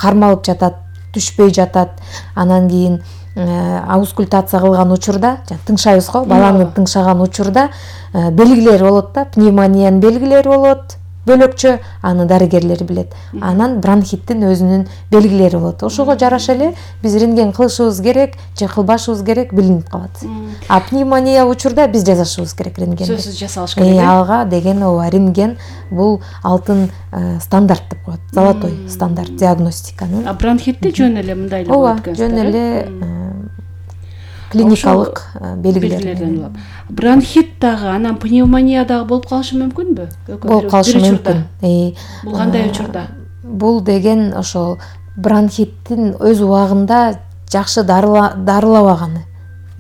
кармалып жатат, түшпөй жатат. Анан кийин аускультация кылган учурда, тыңшайбыз го, баланы тыңшаган учурда белгилери болот да, пневмониянын белгилери болот. Бөлөкчө аны дарыгерлер билет. Анан бронхиттин өзүнүн белгилери болот. Ошого жараша эле биз рентген кылышыбыз керек же кылбашыбыз керек билинип калат. А пневмония учурда биз жасашыбыз керек рентгенди. Сөзсүз жасалыш керек. Ага деген ооба, рентген бул алтын стандарт деп коет. Золотой стандарт диагностиканын. А бронхитти жөн эле мындай эле болот экен. Жөн эле клиникалык белгилерден болот. Бронхит дагы, анан пневмония дагы болуп калышы мүмкүнбү? Болуп калышы мүмкүн. Бул кандай учурда? Бул деген ошол бронхиттин өз убагында жакшы дарылабаганы.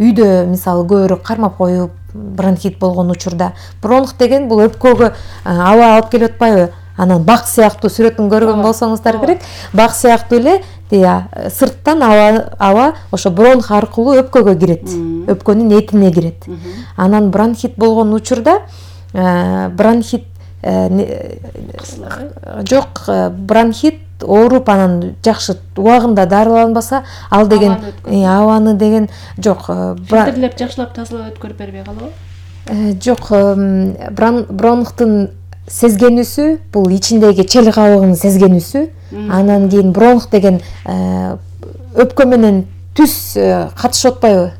Үйдө мисалы көбүрөөк кармап коюп бронхит болгон учурда. Бронх деген бул өпкөгө аба алып келип атпайбы? Анан бак сыяктуу сүрөтүн көргөн болсоңуздар керек. Бак сыяктуу эле сырттан аба ошо бронх аркылуу өпкөгө кирет. Өпкөнүн этине кирет. Анан бронхит болгон учурда бронхит жок, бронхит ооруп анан жакшы убагында дарыланбаса, ал деген абаны деген жок. Фильтрлеп жакшылап тазалап өткөрүп бербей калабы? Жок, бронхтун сезгенүүсү бул ичиндеги чел кабыгынын сезгенүүсү. Анан кийин бронх деген өпкө менен түз катышып атпайбы?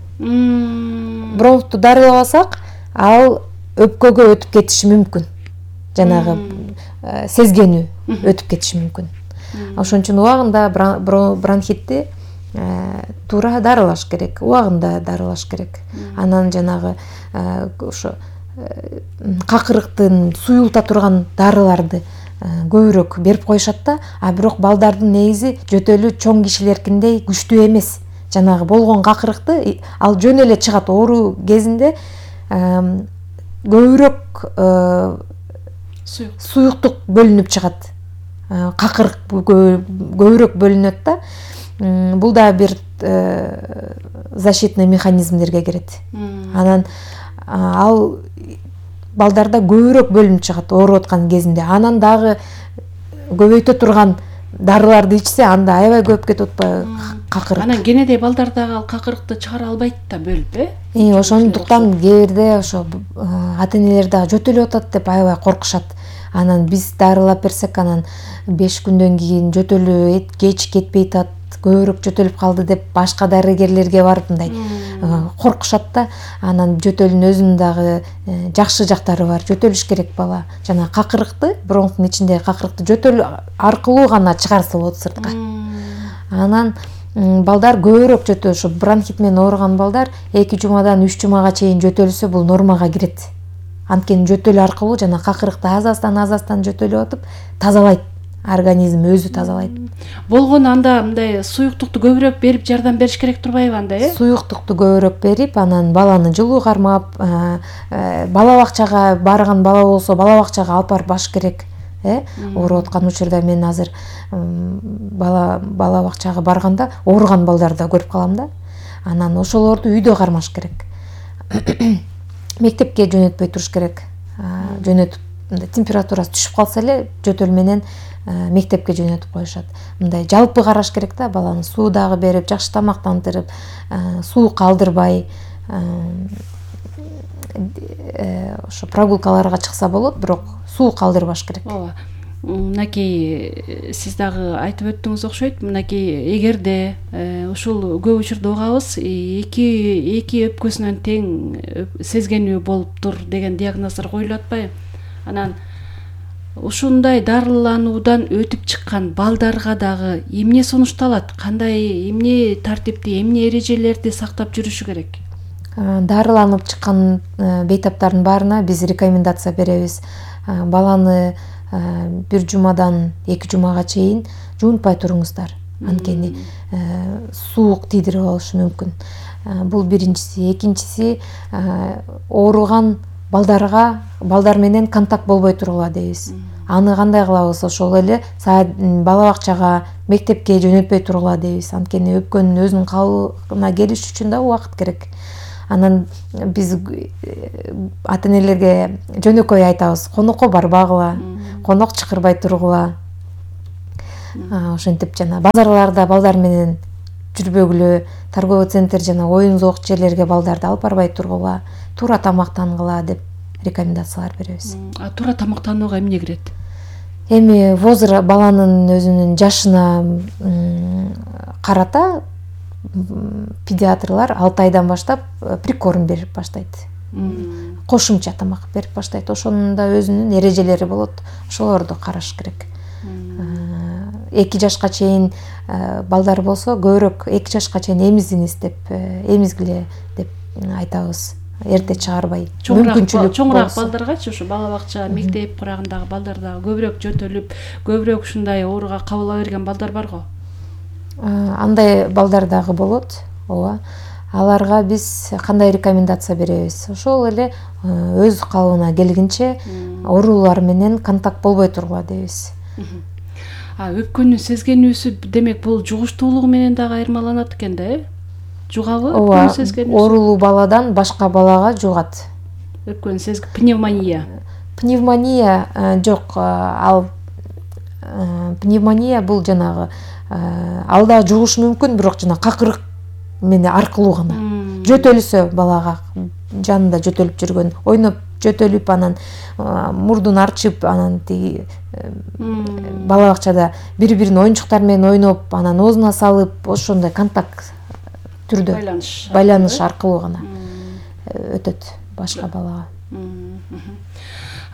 Бронхту дарылабасак, ал өпкөгө өтүп кетиши мүмкүн. Жанагы сезгенүү өтүп кетиши мүмкүн. Ошон үчүн убагында бронхитти туура дарылаш керек, убагында дарылаш керек. Анан жанагы ошо какырыктын суюлта турган дарыларды көбүрөөк берип коюшат да, а бирок балдардын негизи жөтөлү чоң кишилеркиндей күчтүү эмес. Жанагы болгон какырыкты ал жөн эле чыгат оору кезинде, көбүрөөк суюктук бөлүнүп чыгат. Какырык көбүрөөк бөлүнөт да. Бул да бир защитный механизмдерге кирет. Анан ал балдарда көбүрөөк бөлүнүп чыгат ооруп аткан кезинде. Анан дагы көбөйтө турган дарыларды ичсе, анда аябай көп кетип атпайбы какырык. Анан кенедей балдардагы ал какырыкты чыгара албайт да бөлүп, ошондуктан кээ бирде ошо ата-энелер дагы жөтөлүп атат деп аябай коркушат. Анан биз дарылап берсек, анан 5 күндөн кийин жөтөлү кеч кетпей атат, көбүрөөк жөтөлүп калды деп башка дарыгерлерге барып мындай коркушат да. Анан жөтөлүнүн өзүнүн дагы жакшы жактары бар. Жөтөлүш керек бала. Жана какырыкты, бронхтун ичиндеги какырыкты жөтөлү аркылуу гана чыгарса болот сыртка. Анан балдар көбүрөөк ошо бронхит менен ооруган балдар 2 жумадан 3 жумага чейин жөтөлсө бул нормага кирет. Анткени жөтөлү аркылуу жана какырыкты аз-аздан жөтөлүп атып тазалайт. Организм өзү тазалайт. Болгону анда мындай суюктукту көбүрөөк берип жардам бериш керек турбайбы анда, Суюктукту көбүрөөк берип, анан баланы жылуу кармап, бала бакчага барган бала болсо, бала бакчага алып барып баш керек. Ооруп аткан учурда мен азыр бала бакчага барганда ооруган балдарды да көрүп калам да. Анан ошолорду үйдө кармаш керек. Мектепке жөнөтпөй туруш керек. Жөнөтүп температурасы түшүп калса эле жөтөл менен мектепке жөнөтүп коюшат. Мындай жалпы караш керек да, баланы суу дагы берип, жакшы тамактандырып, суук алдырбай, ошо прогулкаларга чыкса болот, бирок суук алдырбаш керек. Ооба. Мынакей сиз дагы айтып өттүңүз окшойт. Мынакей эгерде ушул көп учурда угабыз, эки өпкөсүнөн тең сезгенүү болуптур деген диагноздар коюлуп атпайбы? Анан ушундай дарылануудан өтүп чыккан балдарга дагы эмне сунушталат? Кандай эмне тартипти, эмне эрежелерди сактап жүрүшү керек? Дарыланып чыккан бейтаптардын баарына биз рекомендация беребиз. Баланы 1 жумадан 2 жумага чейин жуунтпай туруңуздар. Анткени суук тийдирип алышы мүмкүн. Бул биринчиси. Экинчиси, ооруган балдар менен контакт болбой тургула дейбиз. Аны кандай кылабыз? Ошол эле бала бакчага, мектепке жөнөтпөй тургула дейбиз. Анткени өпкөнүн өзүнүн калыбына келиш үчүн да убакыт керек. Анан биз ата-энелерге жөнөкөй айтабыз: конокко барбагыла, конок чакырбай тургула. ошентип жана базарларда балдар менен жүрбөгүлө, торговый центр жана оюн зоок жерлерге балдарды алып барбай тургула, туура тамактангыла деп рекомендациялар беребиз. Туура тамактанууга эмне кирет? Эми баланын өзүнүн жашына карата педиатрлар 6 айдан баштап прикорм берип баштайт. Кошумча тамак берип баштайт. Ошонун да өзүнүн эрежелери болот. Ошолорду караш керек. 2 жашка чейин балдар болсо көбүрөөк 2 жашка чейин эмизиңиз деп эмизгиле деп айтабыз. Эрте чыгарбай. Чоңураак балдаргачы ушу бала бакча, мектеп курагындагы балдарда көбүрөөк жөтөлүп, көбүрөөк ушундай ооруга кабыла берген балдар барго? Андай балдар дагы болот. Ооба. Аларга биз кандай рекомендация беребиз? Ошол эле өз калыбына келгенче оорулар менен контакт болбой тургула дейбиз. Өпкөнүн сезгенүүсү демек бул жугуштуулугу менен дагы айырмаланат экен да, Жугабы өпкөнүн сезгенүүсү? Оорулуу баладан башка балага жугат. Өпкөнүн пневмония. Пневмония жок. Ал пневмония бул жанагы ал да жугушу мүмкүн, бирок жана какырык менен аркылуу гана. Жөтөлсө балага жанында жөтөлүп жүргөн, ойноп жөтөлүп анан мурдун арчып, анан тиги бала бакчада бири-биринин оюнчуктар менен ойноп, анан оозуна салып, ошондой контакт түрдө байланыш аркылуу гана өтөт башка балага.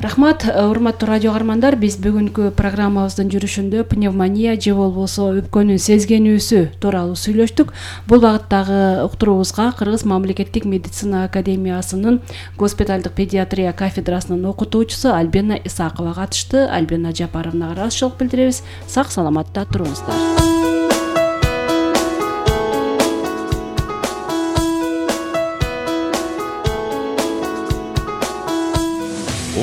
Рахмат, урматтуу радио каармандар, биз бүгүнкү программабыздын жүрүшүндө пневмония же болбосо өпкөнүн сезгенүүсү тууралуу сүйлөштүк. Бул багыттагы уктуруубузга Кыргыз мамлекеттик медицина академиясынын госпиталдык педиатрия кафедрасынын окутуучусу Альбина Исакова катышты. Альбина Жапаровнага ыраазычылык билдиребиз. Сак саламатта туруңуздар.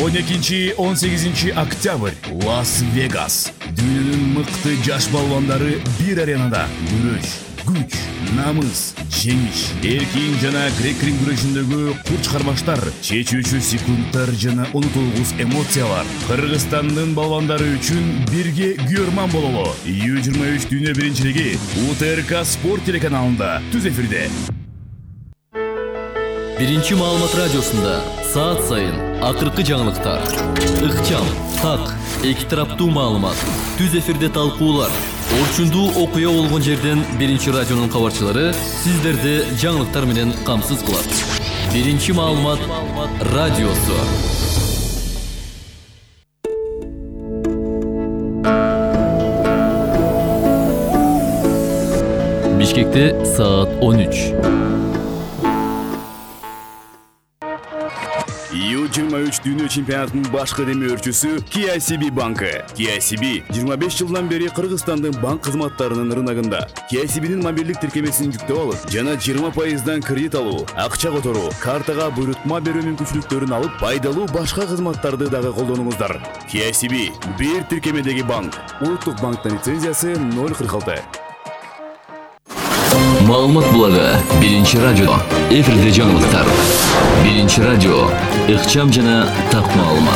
12-18 октябрь Лас-Вегас. Дүйнөнүн мыкты жаш балбандары бир аренада күрөш, күч, намыс, жеңиш, эркин жана грек-рим күрөшүндөгү курч кармаштар, чечүүчү секундтар жана унутулгус эмоциялар. Кыргызстандын балбандары үчүн бирге күйөрман бололу. U23 дүйнө биринчилиги УТРК спорт телеканалында түз эфирде. Биринчи маалымат радиосунда саат сайын акыркы жаңылыктар, ыкчам, так, эки тараптуу маалымат, түз эфирде талкуулар, орчундуу окуя болгон жерден биринчи радионун кабарчылары сиздерди жаңылыктар менен камсыз кылат. Биринчи маалымат радиосу. Бишкекте саат 13. U23 дүйнө чемпионатынын башкы демөөрчүсү KCB банкы. KCB 25 жылдан бери Кыргызстандын банк кызматтарынын рыногунда. KCB'нин мобилдик тиркемесин жүктөп алып, жана 20% кредит алуу, акча которуу, картага буйрутма берүү мүмкүнчүлүктөрүн алып, пайдалуу башка кызматтарды дагы колдонуңуздар. KCB бир тиркемедеги банк. Улуттук банктын лицензиясы 046. Маалымат булагы биринчи радио. Эфирде жаңылыктар. Биринчи радио. Ыкчам жана так маалымат.